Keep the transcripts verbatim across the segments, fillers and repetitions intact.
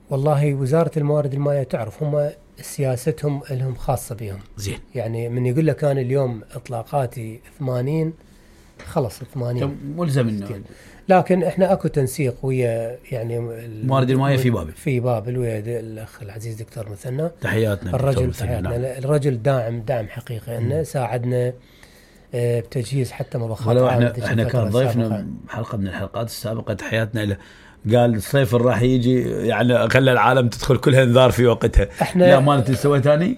والله وزارة الموارد المائية تعرف هم سياستهم لهم خاصة بهم. زين. يعني من يقول لك أنا اليوم إطلاقاتي ثمانين خلص ثمانين ملزم إنه. لكن إحنا أكو تنسيق ويا يعني الموارد المائية في بابل. في بابل ويا الأخ العزيز دكتور مثنى. تحياتنا. الرجل تحياتنا. نعم. الرجل داعم دعم حقيقي إنه ساعدنا بتجهيز حتى مضخات. ولو إحنا إحنا كان ضيفنا حلقة من الحلقات السابقة تحياتنا له. قال الصيف راح يجي يعني خلى العالم تدخل كلها انذار في وقتها. احنا لا ما انت سويت ثاني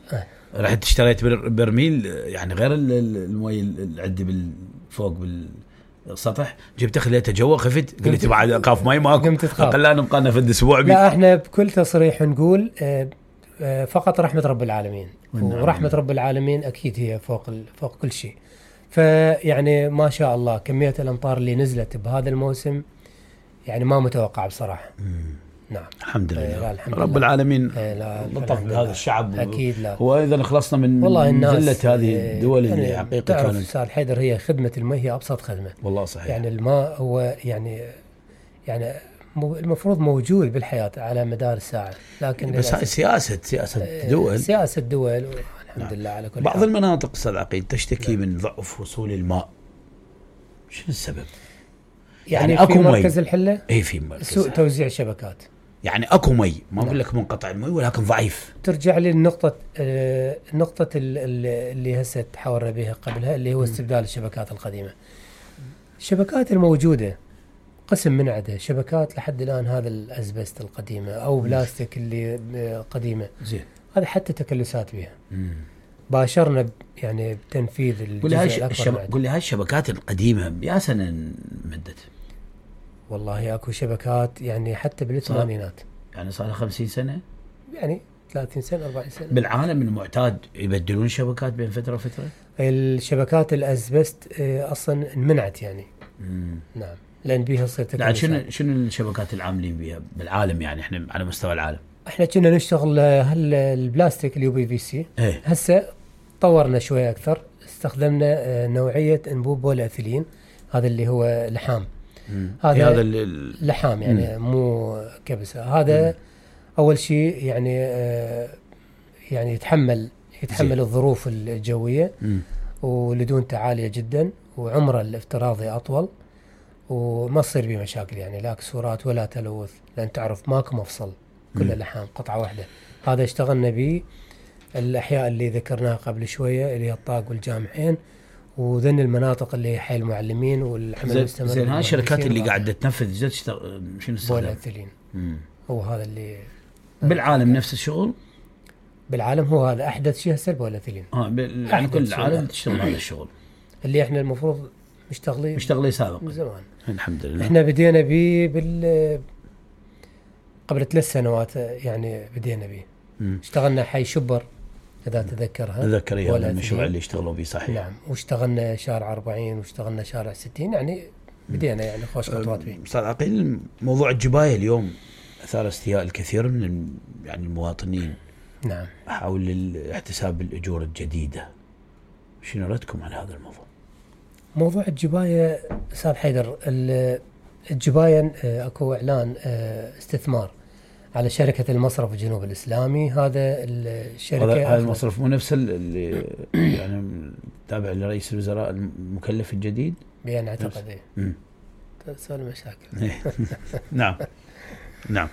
رحت اشتريت برميل يعني غير المي اللي عندي بالفوق بالسطح جبت خليته جوا خفت قلت بعد اخاف مي ماكو خلينا نبقى لنا في الاسبوع. لا احنا بكل تصريح نقول فقط رحمة رب العالمين ورحمة رب العالمين اكيد هي فوق فوق كل شيء. فيعني ما شاء الله كمية الامطار اللي نزلت بهذا الموسم يعني ما متوقع بصراحة. مم. نعم الحمد لله. لا الحمد رب لله. العالمين لطف بهذا الشعب أكيد. لا وإذا خلصنا من ذلة هذه الدول يعني اللي حقيقة تعرف أستاذ حيدر هي خدمة الماء هي أبسط خدمة. والله صحيح. يعني الماء هو يعني يعني المفروض موجود بالحياة على مدار الساعة لكن بس هاي سياسة سياسة دول سياسة دول الحمد نعم. لله على كل بعض حال. المناطق أستاذ عقيل تشتكي نعم. من ضعف وصول الماء. شو السبب؟ يعني, يعني في مركز الحلة اي في مركز سوء توزيع شبكات. يعني اكو مي ما اقول لك منقطع المي ولكن ضعيف. ترجع للنقطة آه النقطة اللي هسه تحاورنا بها قبلها اللي هو استبدال الشبكات القديمة. الشبكات الموجودة قسم من عدها شبكات لحد الآن هذا الأزبست القديمة أو بلاستيك اللي قديمة. زين. هذا حتى تكلسات بها. مم. باشرنا يعني بتنفيذ الجزء الأكبر. قل لي هاي الشبكات القديمة يا سنة مدت. والله اكو شبكات يعني حتى بالثمانينات يعني صار خمسين سنة يعني ثلاثين سنة أربعين سنة. بالعالم المعتاد يبدلون شبكات بين فترة وفترة. الشبكات الأزبست أصلا منعت يعني. مم. نعم لأن بيها تصير تكلفات. شنو شنو الشبكات العاملين بها بالعالم يعني احنا على مستوى العالم؟ احنا كنا نشتغل هال البلاستيك اليو بي في سي. ايه. هسه طورنا شوية أكثر استخدمنا نوعية أنبوب بوليأثيلين هذا اللي هو لحام. هذا هذا اللحام يعني مم. مو كبسة هذا مم. أول شيء يعني آه يعني يتحمل يتحمل زي. الظروف الجوية مم. ولدونته عالية جدا وعمره الافتراضي أطول وما تصير به مشاكل يعني لا كسورات ولا تلوث لأن تعرف ماكو مفصل كله لحام قطعة واحدة. هذا اشتغلنا به الأحياء اللي ذكرناها قبل شوية اللي هي الطاق والجامعين وذن المناطق اللي حي المعلمين والعمل المستمر. زين هاي الشركات اللي قاعدة تنفذ جد تشتغل شنو استخدام؟ بوليأثيلين. هو هذا اللي بالعالم نفس الشغل؟ بالعالم هو هذا أحدث شيء هسه البوليأثيلين. اه يعني كل العالم تشتغل هذا الشغل. اللي احنا المفروض مشتغلين مشتغلين سابقا من زمان. الحمد لله. احنا بدينا به بال قبل ثلاث سنوات يعني بدينا به. اشتغلنا حي شبر إذا تذكرها. تذكر هذا المشروع اللي اشتغلوا به صحيح. نعم واشتغلنا شارع أربعين واشتغلنا شارع ستين يعني بدينا يعني خوش خطوات به. أستاذ عقيل موضوع الجباية اليوم أثار استياء الكثير من يعني المواطنين. نعم. حول احتساب الأجور الجديدة. شنو ردكم على هذا الموضوع؟ موضوع الجباية أستاذ حيدر الجباية اكو إعلان استثمار على شركة المصرف الجنوب الإسلامي. هذا الشركة هذا المصرف مو نفس اللي يعني تابع لرئيس الوزراء المكلف الجديد بأن أعتقد إيه تسأل مشاكل. نعم نعم.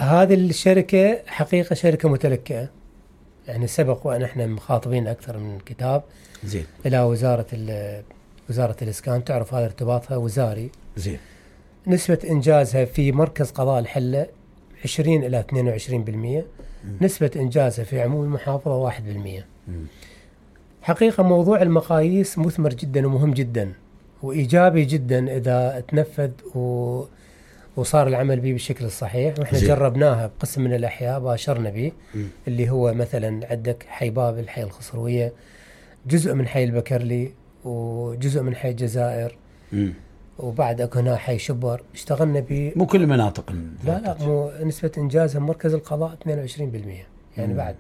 هذه الشركة حقيقة شركة متلكئة يعني سبق وأن احنا مخاطبين أكثر من كتاب زين إلى وزارة وزارة الإسكان تعرف هذا ارتباطها وزاري. زين. نسبة إنجازها في مركز قضاء الحلة عشرين إلى اثنين وعشرين بالمئة. نسبة إنجازها في عموم المحافظة واحد بالمئة. حقيقة موضوع المقاييس مثمر جدا ومهم جدا وإيجابي جدا إذا تنفذ و... وصار العمل به بالشكل الصحيح. وإحنا زي. جربناها بقسم من الأحياء باشرنا به اللي هو مثلا عندك حي بابل حي الخصروية جزء من حي البكرلي وجزء من حي الجزائر م. وبعد اكو هنا حي شبر اشتغلنا ب مو كل المناطق. لا لا مو نسبة انجازها مركز القضاء اثنين وعشرين بالمئة يعني م. بعد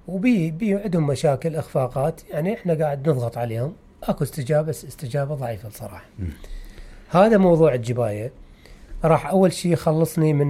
وبي بي عندهم مشاكل اخفاقات يعني احنا قاعد نضغط عليهم اكو استجابة بس استجابة ضعيفة بصراحة. م. هذا موضوع الجباية راح اول شيء خلصني من